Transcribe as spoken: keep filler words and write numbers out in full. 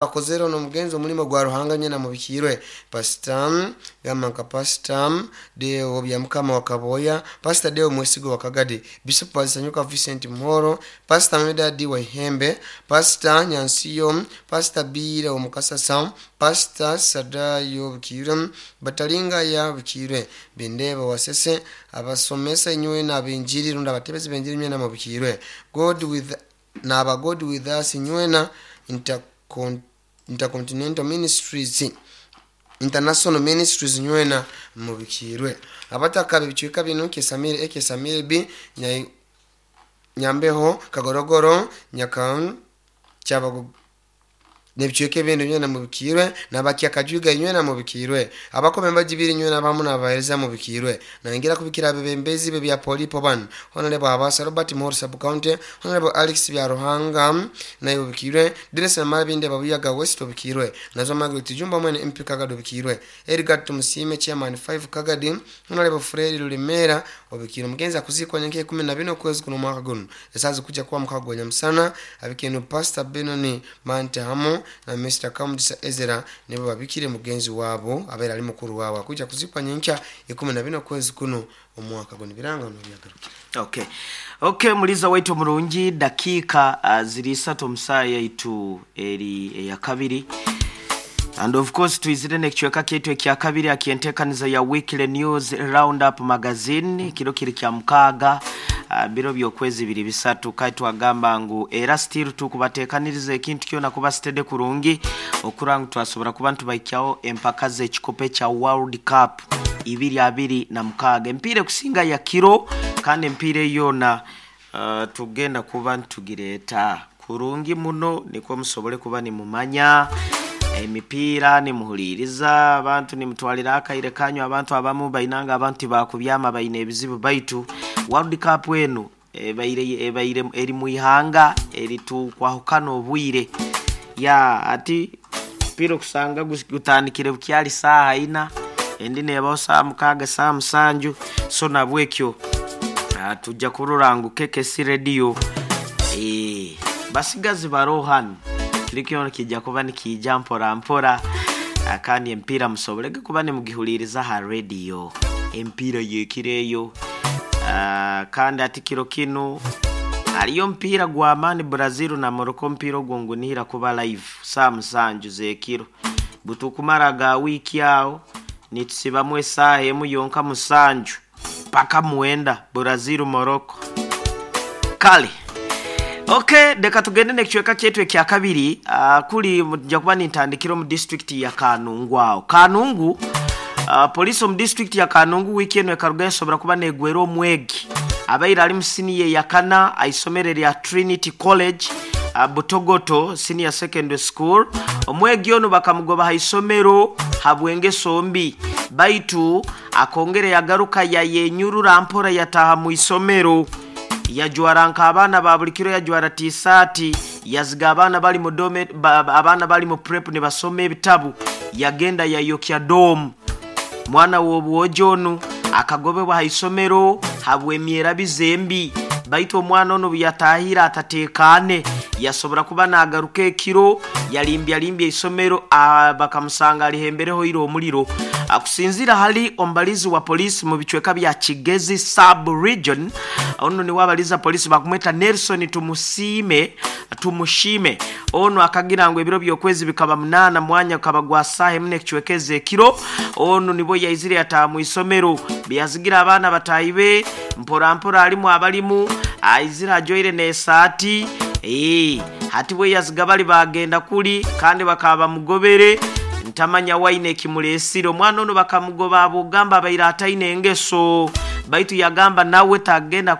Akozere omugenzi omulimo gwa Ruhanga nyena mubikirwe. Pastor gamba nka Pastor Deo Byamukama wa Kaboya, Pastor Deo Mwesigo wa Kagadi, Bishop Bazisanyuka Vincent Muhoro, Pastor Medadi wa Ihembe, Pastor Nyansiyo, Pastor Biire Omukasasa, Pastor Sadayo Bukirwe, Batalinga ya Bukirwe, Bindeba Wasese, abasomesa inywe n'abenjiri rundi abatebezi benjiri nywena mubikirwe. God with n'aba God with us nywena Intercon Intercontinental Ministries, International Ministries nywena mubikirwe. Abataka bibicweka bino Kesamiri A, Kesamiri B, Nyai- Nyambeho, Kagorogoro, Nyaka Kyabago nebicweka ebindi nywena mubikirwe, nabakyakajuga nywena mubikirwe, abakome mbagibiri nywena bamu nabahereza mubikirwe. Nangira kubikira abebembezi be bya Polipo bano: Honorable Habasa Robert Muhoro Sub County, Honorable Alex Byaruhanga naye obikirwe, Dennis Namara Babuyaga West obikirwe, Nazo Margaret Jumba mwene M P Kagadi obikirwe, Edgar Tumusime Chairman five Kagadi, Honorable Fred Lulemera obikirwe. Mugenzi akuzikwa nyenke ikumi na bina okwezi kuno mwaka guno esazi kuja kuwa mukago nyamusana abikeno Pastor Benoni Mante hamu na Mister Kamudisa Ezra nibo babikire mugenzi wabo abeera ali mukuru waabo akuja kuzikwa nyenkya ikumi na bina okwezi kuno omwaka guno. Biranga nobyagarukira. Okay okay muliza waitu murungi, dakiika uh, ziri isatu omusaa yaitu eri eyakabiri, and of course twizire nekicweka kyaitu ekyakabiri akyentekaniza ya Weekly News Roundup Magazine. Kiro kiri kya mukaaga, uh, biro byokwezi biri bisatu. Kai twagamba ngu era still tukubatekaniriza ekintu kyona kuba sitede kurungi okura ngu twasobora kuba ntubaikyaho empaka z'ekikopo ekya World Cup ibiri abiri na mukaaga, empiira ekusinga ya kiro, kandi empiira eyona uh, tugenda kuba ntugireeta kurungi muno nikwo musobole kuba nimumanya emipiira, nimuhuliriza abantu, nimutwalira akaire kanyu. Abantu abamu bainanga abantu bakubyama baine ebizibu, baitu World Cup enu ebaire ebaire eri muihanga eritukwahukana obwire ya ati mpira okusanga gutandikire bukyali saaha ina, endi nebaho saa mukaaga, saa musanju. So nabwekyo ah, tujja kurora ngu K K C Radio eh, basigazi barohan kirikyo kijja kuba nikijja mpora mpora, ah, kandi empiira musobolege kuba nimugihuliriza ha radio empiira yekireyo. Ah, kandi ati kiro kinu aliyo mpiira gwa amani, Brazil na Morocco. Mpiira ogwo ngunihira kuba live saa musanju zekiro butukumara ga wiiki awo nitusibamu esaaha emu yonka, musanju paka mwenda, Brazil Morocco. Kale okay, reka tugende nekicweka kyaitu ekya kabiri. uh, kuli nja kuba nintandikira omu district ya Kanungu. Aho Kanungu, uh, polisi omu district ya Kanungu wiki eno ekaruga esobora kuba negwera omwegi abaire ali mu siniya eyakana aisomero lya Trinity College, uh, Butogoto Senior Secondary School. Omwegi ono bakamugoba ha isomero habwengeso mbi, baitu akongere yagaruka yayenyurura mpora yataha mu isomero, yajwara nk'abaana ba buli kiro, yajwara tisaati, yaziga abaana bali mu dome ba, abaana bali mu prep ne basoma ebitabu, yagenda yayokya dorm. Mwana w'obwojo onu akagobebwa ha isomero habw'emyerabizo embi, baitu omwana ono buyatahire atatekane, yasobora kuba nagaruka ekiro yalimbya isomero, ah, bakamusanga alihembereho ira omuliro. Akusinzira hali ombalizi wa polisi mu bicweka bya Kigezi sub region, ono niwe abaliza polisi bakumweta Nelson Tumusiime Tumushime. Ono akagira ngu ebiro byokwezi bikaba munana, mwanya kaba gwa saha emu nekicwekeza ekiro, ono nibo yaizire yataha mu isomero byazigira abaana batahi be mpora mpora alimu abalimu aizire ajoire n'esaati. Ee, hati bwe yaziga bali bagenda kuli kandi bakaba bamugobere, ntamanya waine ekimulesire. Omwana ono bakamugoba abugamba abaire ataine engeso, baitu yagamba nawe tagenda.